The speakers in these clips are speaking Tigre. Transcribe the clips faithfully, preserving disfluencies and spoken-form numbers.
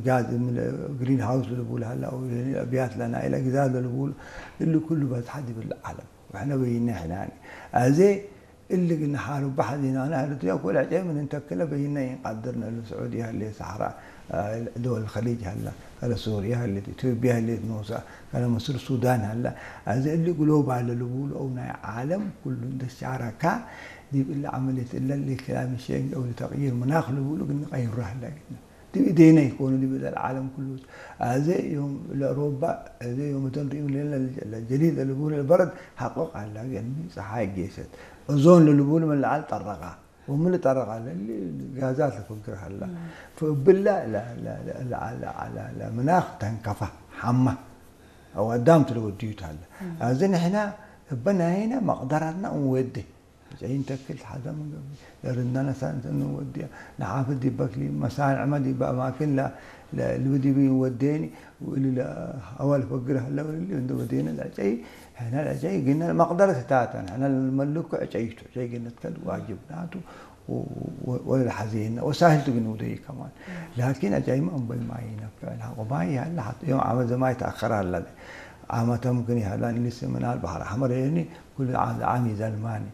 ጋዝ ምን ግሪን ሃውስ ለልቡል ሀላ፣ አው አብያት ለናይለ ግዛዝ ለልቡል፣ እሊ ኩሉ በዝሐ ዲብ ለዓለም። ወሕነ በይነ ሕናኒ። አዜ እሊ ግን ሓሩብ በሐዚናነ፣ ኤረትርያ ኩል ዕጨይ ምን እንተክለ በይነ ኢንቀድርነ። እሊ ስዑድየ ህሌት፣ ሰሐራ፣ አ፣ ደወል ኸሊጅ ሀላ፣ ከለ ሱርየ ህሌት፣ ኢትዮጵየ ህሌት ኖሳ፣ ከለ ምስር፣ ሱዳን ሀላ። አዜ እሊ ግሎባል ለልቡሉ አው ናይ ዓለም ኩሉ እንደ ሻረካ ዲብ እሊ ዐመልየት እለ ለክላይመት ቼንጅ አው ለተቅይር መናክ ልቡሉ ግን ቀይሩ ሀላ ግነ። ዲብ እዴነ ኢኮኑ፣ ዲብ እደ ለዓለም ኩሉ። አዜ ዮም ለአውሮፓ፣ አዜ ዮም እተን ርኢም ለለ ለጀዲድ ለልቡል ለበረድ ሐቆቅ ዐላ፣ ገኒ ጸሓይ ጌሰት። ኦዞን ለልቡል ምን ለዐል ጠረቃ። ወምን ጠረቃ ለሊ ጋዛት ለፈግር ሀላ። ፈእብላ ለ-፣ ለ-፣ ለ-፣ ለ-፣ ለ-፣ ለ-፣ ለምናክ ተንከፋ፣ ሐማ። አው አዳምቱ ለወድዩት ሀላ። አዜ ንሕና እበ ናይነ መቅደረትና እንወዴ። ጨይን ተክል ሐዘ ምን ገብእ፣ ለርድናነ ሳንት እንወድያ፣ ነሓፍት ዲብ በክሊ፣ መሳንዕመ ዲብ አማክን ለ-፣ ለ-፣ ልብዲቢ ወዴኒ፣ ወእሊ ለሀዋ ልፈግር ሀለ ወእሊ እንደ ወዴነ ለጨይ፣ ሕነ ለጨይ ግነ መቅደረት ህታተን፣ ሕነ ለመልኩ ዐጨይቱ፣ ዐጨይ ግነ ትከል ዋጅብናቱ፣ ወ-፣ ወ-፣ ወለሐዜነ፣ ወሳህልቱ ግን ውደይ ከማን። ላኪን ዐጨይመ እምበል ማይ ነፍዕ፣ ሐቆ ማይ ያለ ሐት ዮም ዓመት ዘማይ ተአከር አለ። ዓመተ ምክን ይሀላን ልስምናል በሐር አሕመር የኒ፣ ኩሉ ዓም ለዓም ይዘልማኒ።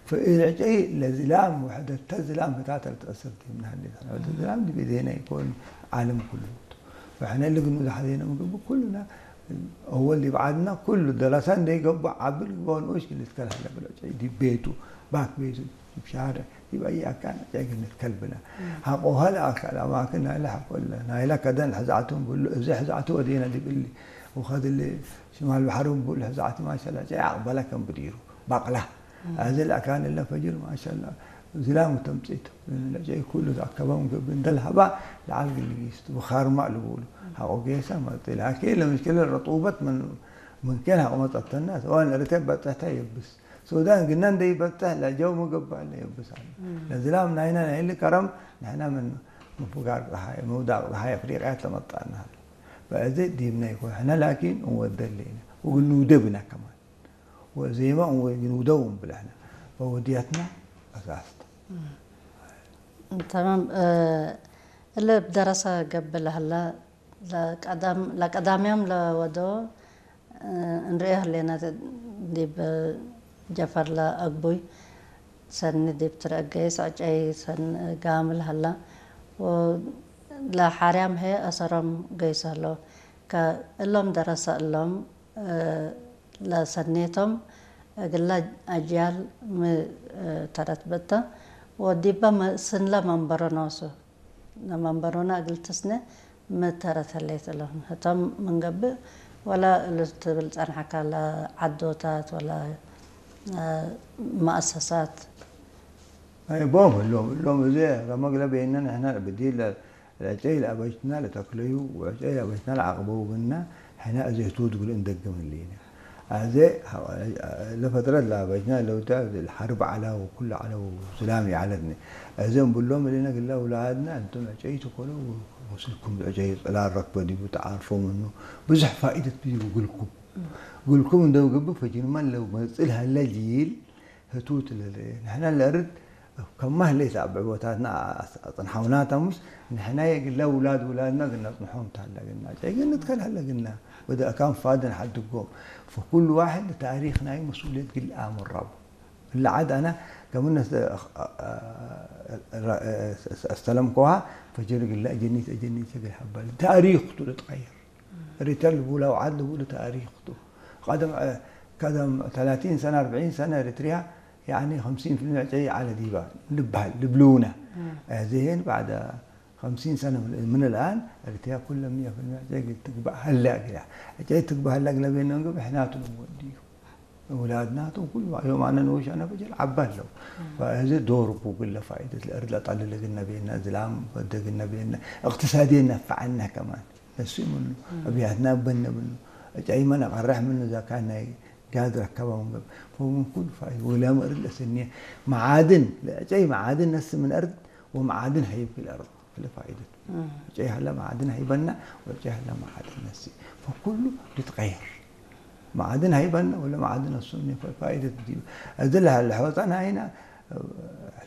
ፈእለ ዐጨይ ለዝላም ወሕደተ ዝላም ህታተ ለትአሰር ዲብነ ህሌት። ሕደተ ዝላም ዲብ እዴነ ኢኮን፣ ዓለም ኩሉ ቱ። ወሕነ እሊ ግኑድ ሐዜነ ምን ገብእ ኩሉና፣ አወል ዲብ ዐድና ኩሉ ደረሰ እንዴ ገብእ፣ ዐቢ ልግበኦ ንኡሽ ልትከል ሀለ ብሎ ዐጨይ ዲብ ቤቱ፣ ባክ ቤቱ፣ ዲብ ሻርዕ፣ ዲብ አይ አካን ዐጨይ ግንትከል ብለ። ሐቆ ሀለ አካል አማክን ናይለ ሐቆ እለ፣ ናይለ ከደን ሕዛዕቱ ብሉ፣ እዚ ሕዛዕቱ ወዴነ ዲብ እሊ፣ ወከድሊ ሽማል በሐር እምቡ ለሕዛዕቲ ማሸላ ዐጨይ አቅበለ ከም ብዲሩ በቅላ። አዜ ለአካን እለ ፈጅር ማሸላ ዝላም ወተምጺት ለዐጨይ ኩሉ ተአከበ ምን ገብእ እንደ ለሀባ ለዐል ግልጊስ ወካርማ ልቡሉ። ሐቆ ጌሰ መጽእ ላኪን ለምሽክለ ረጡበት ምን፣ ምን ኬን ሐቆ መጸተና ሰዋን እርቴ በጽሕተ የብስ። ሱዳን ግነ እንደ ይበጽሕ ለጀው መገባእ ለየብስ አለ። ለዝላም ናይነ ናይሊ ከረም ንሕነ ምን ምፍጋር ጸሓይ፣ ምውዳቅ ጸሓይ አፍሪቅያት ለመጣና ሀለ። በአዜ ዲብነ ኢኮን፣ ሕነ ላኪን እንወደ ህሌነ፣ ወግኑደ ብነ ከማን። ወዜመ እንወ-፣ ግኑደው እንብል ሕነ፣ ፈወድየትነ አሳስተ። ተማም። እ፣ እለ እብ ደረሰ ገብእ ለሀለ ለቀዳም-፣ ለቀዳምዮም ለወዶ፣ እ፣ እንርኤ ህሌነ ዲብ ጀፈር ለአግቡይ ሰኒ ዲብ ትረአ ገይስ ዐጨይ ሰኒ ጋምል ሀላ ወለሓርያም ህዬ አሰሮም ገይስ ህለው። ከእሎም ደረሰ እሎም፣ እ፣ ለሰኔቶም እግለ አጅያል ሚ፣ እ፣ ተረት ብእተ ወዲበ መ-፣ ስንለ መንበሮ ኖሱ። ለመንበሮነ እግል ትስኔ ሚ ተረት ህሌት እሎም ህቶም ምን ገብእ ወለ እሉ ትብል ጸንሐከ ለዐዶታት ወለ፣ እ፣ መአሰሳት። አይ፣ ቦም እሎም፣ እሎም እዜ ረመግ ለቤነ ንሕነ ብዲል ለ-፣ ለዐጨይ ለአበጅትነ ለተክለዩ ወዐጨይ ለአበጅትነ ለዐቅበው ብነ፣ ሕነ እዜ ህቱት እግል እንደግም ህሌነ። አዜ ለፈጥረት ለአበጅትነ ለውተ ሐርብ ዐለ ወኩሉ ዐለ ወስላም ይዐለትነ። አዜ እምብሎም እሊነ ግለ አውላድነ፣ እንቱም ዐጨይ ትኮኑ ወስልኩም ዐጨይ ጽላል ረክበ ዲቡ ተዓርፎ ምኑ ብዙሕ ፋኢደት ዲቡ ግልኩም። ግልኩም እንደ ገብእ ፈጅርመን ለው መጽእ ለሀለ ጂል ህቱት ለለ። ንሕነ ለእርድ ከማ ህሌት አብዕቦታትና አስ-፣ አጽንሐውናታ ሙስ፣ ንሕነ የግለ ውላድ ውላድና ግና አጽንሖም ታላ ግና። ጨይ ግንት ከልሀለ ግና ወደ አካን ፋድን ሐድጎም። ፈኩሉ ዋሕድ ለታሪክ ናይ መስኡልየት ግል አምራቡ። እለ ዐድ አነ ገምነ ስ-፣ አ-፣ አ-፣ አ-፣ አስተለምኮሃ ፈጅር ግለ እጀኒት እጀኒት እግል ሐበል። ታሪክ ቱ ልትቀየር። ኤሪትርያ ልቡላ ወዓድ ልቡሉ ታሪክ ቱ። ቀደም፣ ቀደም ተላቲን ሰነ፣ አርበዒን ሰነ ኤሪትርያ፣ ያኒ፣ ኸምሲን ፊልሚ ዐጨይ ዐለ ዲባ ልብሃል፣ ልብሉነ። እም። እዚህን ባዕደ ኸምሲን ሰነ ምን፣ ምን الآن ኤሪትርያ ኩለ ሚየ ፊልሚ ዐጨይ ትግባእ ሀለ እግላ። ዐጨይ ትግባእ ሀለ እግለ ቤነ እንግብ ሕናቱ ልንወድዩ። ውላድናቱ ኩሉ ዮም አነ ንኡሽ አነ ፈጅር ዐባ ለው። እም። ፈእዚ ዶር ቡ ግለ ፋኢደት ለእርድ ለጠልል እግልነ ቤነ፣ ዝላም ወደ እግልነ ቤነ፣ እቅትሳድየን ነፈዐነ ከማን። እሱ ምኑ፣ እም። አብያትና በነ ምኑ፣ ዐጨይመ ነቀርሕ ምኑ፣ እዛ ካን ናይ ጋዝ ረከበ ወንገብ፣ ፈምን ኩሉ ፋይ፣ ወላም እርድ ለሰኒየ፣ መዓድን፣ ለዐጨይ መዓድን ነስ ምን አርድ፣ ወመዓድን ሀይብ ለአርድ፣ ለፋይደት። እም። ዐጨይ ሀለ መዓድን ሀይበና፣ ወዐጨይ ሀለ መዓድን ነስ። ፈኩሉ ልትቀየር። መዓድን ሀይበና፣ ወለ መዓድን ነሱ ምን ፋይደት ዲብ። እዚ ለሀለ ሖጠን ሀይና፣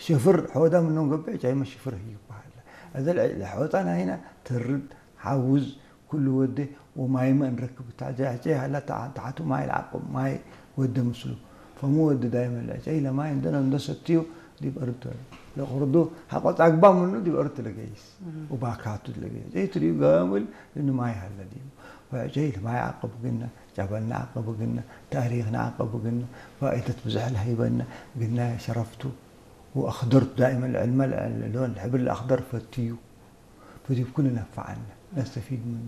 ሽፍር ሖደ ምኑ ገብእ፣ ዐጨይመ ሽፍር ህይብ በሀለ። እዘ ለሐወጠ ናይነ ትርድ፣ ሐውዝ፣ ኩሉ ወዴ ወማይመ እንረክብ እተ። ዕጨይ ሀላ ተዓ-፣ ተዓቱ ማይ ለዐቅብ፣ ማይ ወዴ ምስሉ። ፈሙ ወዴ ዳይመን ለዕጨይ ለማይ እንደ፣ እንደ ሰትዩ ዲብ አርድ ለቅርዱ ሐቆ ጻግባ ምኑ ዲብ አርድ ለገይስ ወባካቱ ለገይስ። ዕጨይ ትርዩ ገምል እኑ ማይ ሀለ ዲቡ። ወዕጨይ ለማይ ዐቅብ ግነ፣ ጨበልና ዐቅብ ግነ፣ ታሪክና ዐቅብ ግነ፣ ፋኢደት ብዝሕ ለሀይበነ ግነ ሸረፍቱ። ወአክደር ዳይመን ለዕልመ ለሎን ለሕብር ለአክደር ፈትዩ። ፈዲብ ኩሉ ነፈዐነ ነስተፊድ ምኑ።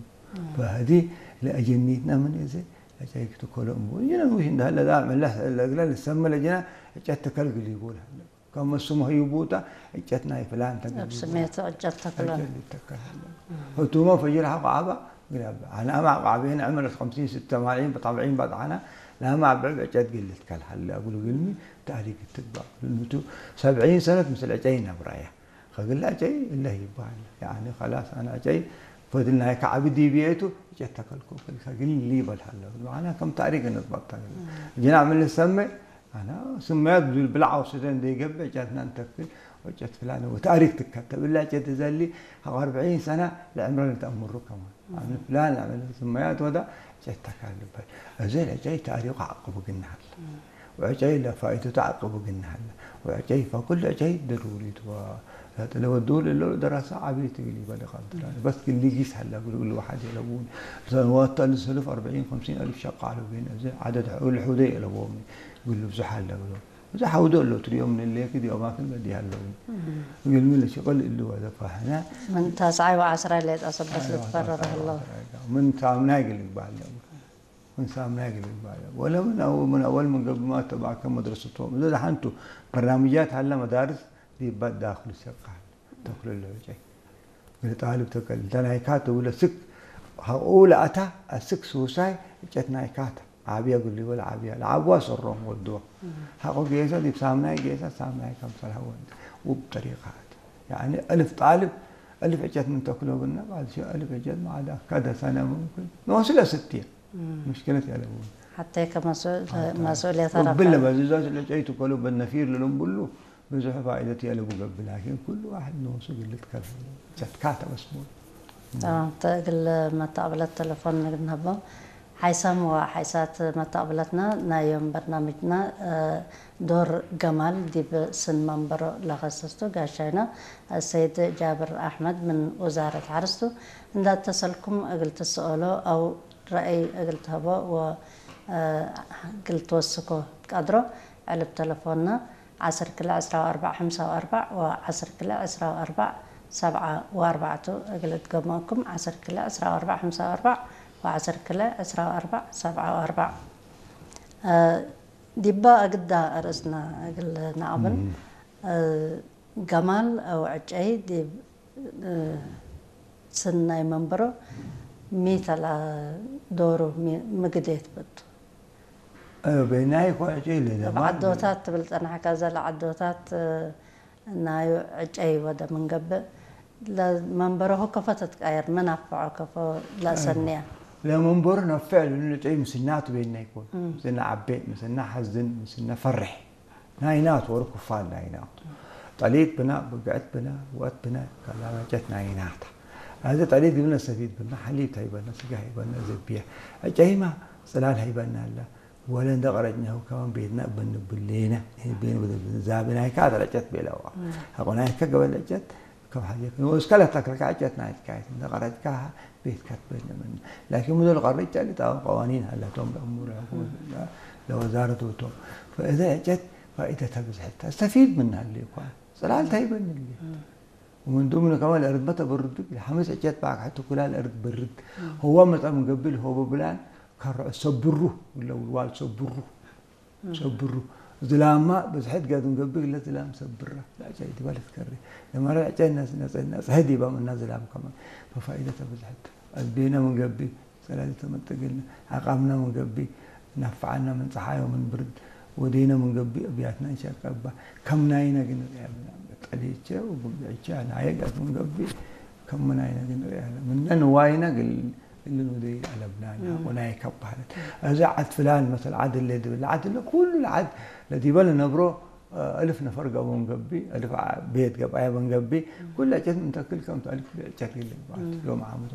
ፈሀዲ ለአጀኒትነ ምን እዘ ለጨይክ ትኮሎ እምቡ። እጅነ ውሽ እንደ ሀለ ዳ መለስ ለእግለ ልሰመ ለጅነ ዕጨት ተከል ግል ይቦል ሀለ። ከመ ስሙ ህዩ ቡታ ዕጨት ናይ ፍላን ተገል እብ ይቦል። ስሜቱ ዕጨት ተክሎ። ዕጨት ይተከል ሀለ። ህቱመ ፈጅር ሐቆ ዐባ ግላብ። አነ አማ ዐቃቤነ ዕምረት ኸምሲን ስተ ማልዒን በጠብዒን በጥዓና ላማ አብዕብ ዕጨት ግል ልትከል ሀለ። እግሉ ግልሚ ታሪክ ትግባእ። ልምቱ ሰብዒን ሰነት ምስል ዕጨይ ነብራያ። ከግለ ዕጨይ እለ ይበሀል። ያኒ ከላስ አነ ዕጨይ ፈድል ናይ ከዐቢ ዲብዬ ቱ ዕጨት ተከልኮ ከግል ሊበል ሀለ። መዓና ከም ታሪክ እንጥበቅ ተግል። ጅና ምን ልሰመ አና ስመያት ብዙ ብልዓ ወሰተ እንዴ ገብእ ዕጨትና እንተክል ወዕጨት ፍላን ወታሪክ ትከተብ። እለ ዕጨት እዘሊ ሐቆ አርብዒን ሰነ ለዕምረ ልትአምሩ ከማን። አምን ፍላን ለዐመለ ስመያት ወዳ ዕጨት ተካል ልበል። እዘ ለዕጨይ ታሪኩ ዐቅቡ ግነ ሀለ። ወዕጨይ ለፋኢደቱ ዐቅቡ ግነ ሀለ። ወዕጨይ ፈኩል ዕጨይ ደሩሪ ቱ። ለወዱ ለሎ ደረሰ ዐቢ ትግል ይበል ይቀድር። በስ ግል ሊጊስ ሀለ እግሉ እግል ወሐድ የለቡን። ሰንዋት ተአልፍ ሰልፍ አርብዒን ከምሲን አልፍ ሸቃሉ ቤን እዘ ዐደድ እግል ሑደ የለቦም እግሉ ብዙሕ ሀለ እግሉ። እዘ ሐውዶ እሎ ትርዮም ምን ሌክ ዲዮ ማክል በዲ ሀለው። እግልሚ ለሽቅል እሉ ወዘ ፋህነ። ምን ታስዓይ ወዐስራይ ሌጠ ሰበት ልትፈረር ሀለው። ምን ሳምናይ እግል ይግባል። ምን ሳምናይ እግል ይግባል። ወለ ምን አው-፣ ምን አወል ምን ገብማ ተባከ መድረሰቶም። እዘ ደሐንቱ በርናምጃት ሀለ መዳርስ ዲባ ዳክሉ ሰቃል። ተክሎ ለውጨይ። እግል ጣልብ ተከል። እንተ ናይካት እብለ ስክ ሐቆ ለአታ አስክ ሱሳይ እጨት ናይካት። ዓብያ እግል ሊበል ዓብያ። ለዓብዋ ሰሮም ወድዋ። ሐቆ ጌሰ ዲብ ሳምናይ ጌሰ ሳምናይ ከምሰል ሀወ እንተ። ውብ ጠሪቃት። ያኒ አልፍ ጣልብ አልፍ እጨት ምን ተክሎ ግና ባልሲ አልፍ እጨት ማዕዳ ከደ ሰነ ሙምክን። ኖሱ ለስትየ። ምሽክለት ያለቡ። ሐቴ ከመስኡል-፣ መስኡልየት ወብል ረፈዕ። ለበዝዛት ለጨይቱ ከሉ በነፊር ለልምብሉ ብዙሕ ፋኢደት የለቡ ገብእ፣ ላኪን ኩሉ ዋሕድ ኖሱ ግልት ከልሀ ሸትካተ መስሙል። ተማም። ተ-፣ እግል መተቅብለት ተለፎን ንግድ ነሀቦ። ሓይሳም ወሓይሳት መተቅብለትነ፣ ናይ ዮም በርናምጅነ፣ እ፣ ዶር ገማል ዲብ ስን መንበሮ ለከሰስቱ ጋሻይነ አሰይድ ጃብር አሕመድ ምን ውዛረት ሐርስ ቱ። እንደ አተሰልኩም እግል ትሰአሎ አው ረአይ እግል ትሀቦ ወ፣ እ፣ እግል ትወስኮ ትቀድሮ። ዕልብ ተለፎንነ ዐስር ክልኤ ዕስራ ወአርበዕ ሐምሳ ወአርበዕ ወዐስር ክልኤ ዕስራ ወአርበዕ ሰብዓ ወአርበዕ ቱ። እግል እትገመኩም ዐስር ክልኤ ዕስራ ወአርበዕ ሐምሳ ወአርበዕ ወዐስር ክልኤ ዕስራ ወአርበዕ ሰብዓ ወአርበዕ። እ፣ ዲባ አግዳ አርእስና እግል ነአቅብል። እም። እ፣ ገማል አው ዕጨይ ዲብ፣ እ፣ ስን ናይ መንበሮ ሚ ተላ ዶሩ ሚ-፣ ምግዴት ብቱ? እ፣ ቤናይ እኮ ዕጨይ ለደማን። እብ ዐዶታት ትብል ጸናሕከ፣ እዘ ለዐዶታት፣ እ፣ ናዩ ዕጨይ ወደ ምን ገብእ፣ ለመንበሮሁ ከፎ ተትቀየር፣ ምን አፍዖ ከፎ ለአሰንያ? ለመንበሩ ነፍዕ ለእኑ ዕጨይ ምስናቱ ቤናይ እኮ። እም። ምስና ዐቤ፣ ምስና ሐዝን፣ ምስና ፈሬሕ። ናይናቱ ወሩ ክፋል ናይናቱ። ጠሊት ብና፣ ብግዕት ብና፣ ወአት ብና፣ ከላመጨት ናይናታ። አዜ ጠሊት ግብነ ሰፊት ብና፣ ሐሊብ ተይበነ፣ ስጋ ሀይበነ፣ ዘብየ። ዕጨይማ ጽላል ሀይበነ አለ። ወለ እንደ ቀረጭነሁ ከማን ቤትና እበን ብሌነ፣ ቤን ወደ ዛብናይካ አተረጨት ቤለዋ። እም። ሐቆናይካ ገበለጨት፣ ከም ሐዜ ክን ወእስከ ለተክልካ ዕጨት ናይት ካይት፣ እንተ ቀረጭካሀ ቤት ከትበድ ለምን። ላኪን ምኑ ለቀርጭ ጨሊ ጣው ቀዋኒን ሀለቶም ለእሙር ለወዛረት ወቶም። ፈእዘ ዕጨት ፋኢደተ ብዝሕት ተስተፊድ ምን ሀሌ እኳ። ጽላል ተይበን እሊ። እም። ወምን ዱምነ ከማን ለእርድ መተ በርድ፣ ለሐምስ ዕጨት ባክ ሐቱ ኩላ ለእርድ በርድ። እም። ህዋ መጸ ምን ገብል ሆቦ ብላን ከርዖ ሰብሩ፣ ለውልዋል ሰብሩ። ሰብሩ። ዝላማ ብዝሕት ገዱ እንገብእ ለዝላም ሰብራ። ለዕጨይ ዲባ ልትከሬ። ለመረ ዕጨይ ነጽ-፣ ነጽ-፣ ነጽሐ ዲባ ምና ዝላም ከማን። ፈፋኢደተ ብዝሕት። አዝቤነ ምን ገብእ፣ ጸላሊተ መጠግልነ። አቃምነ ምን ገብእ፣ ናፍዓነ ምን ጸሓይ ወምን ብርድ። ወዴነ ምን ገብእ፣ እብያትነ እንሸቀባ። ከም ናይነ ግን ርያ ብና። ጠሊቼ ወብግዕቼ ናየ ገዱ እንገብእ። ከም ናይነ ግን ርያ። ምነ ንዋይነ ግል እሊ ኑደይ አለብናን ሐቆናይ ከበህለት። እዘ ዐድ ፍላን መሰል ዐድ እለ ድብል ለዐድ እለ ኩሉ ለዐድ ለዲበ ለነብሮ እልፍ ነፈር ገብኦ እንገብእ፣ እልፍ ዓ-፣ ቤት ገብአየ በንገብእ፣ ኩለ እጨት ምን ተክል ከም ተአልፍ እጨት ይልግባት ዮም ዓመቱ።